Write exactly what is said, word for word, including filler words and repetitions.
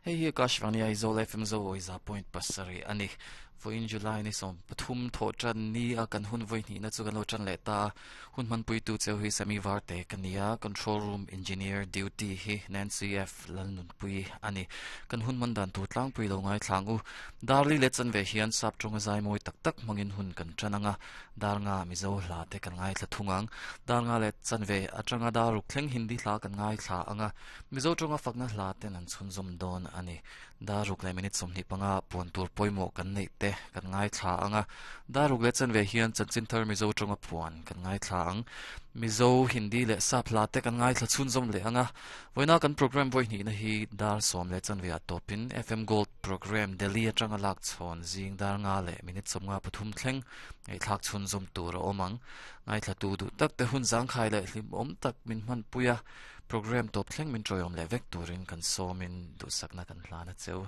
Hei hi Akashvani Aizawl F M Zo Oiza point pasarih a ni. Vawiin July ni sawm pathum thawh tan ni a kan hun vawi hnihna chu kan lo tan leh ta. Hun hmanpui tu cheu hi Sami Varte ka ni a, Control Room Engineer Duty hi Nancy F Lalnunpui a ni. Kan hun hman dan tur tlangpui lo ngai thlang u. Darli leh chan ve hian sap tawnga zai mawi tak tak hmangin hun kan tan anga, dar nga Mizo hla te kan ngai thla thung ang. Dar nga leh chan ve atanga dar ruk thleng Hindi hla kan ngai thla anga, Mizo tawnga fakna hla ten an chhun zawm dawn a ni. Dar ruk leh minute sawmhnih panga puan tur pawimawh kan neih te kan ngai thla anga, dar ruk leh chan ve hian chanchin thar Mizo tawnga puan kan ngai thla ang. Mizo Hindi leh sap hla te kan ngai thla chhun zawm leh anga, vawiina kan program vawi hnihna hi dar sawm leh chan ve ah tawpin F M Gold program Delhi atanga lak chhawn zing dar nga leh minute sawmnga pathum thleng ngaihthlak chhun zawm tur a awm ang. Ngai thla tu duh tak te hun zangkhai leh hlim awm tak min hman puia program tawp thleng min tawihawm leh vek turin kan sawmin duhsakna kan hlana cheu.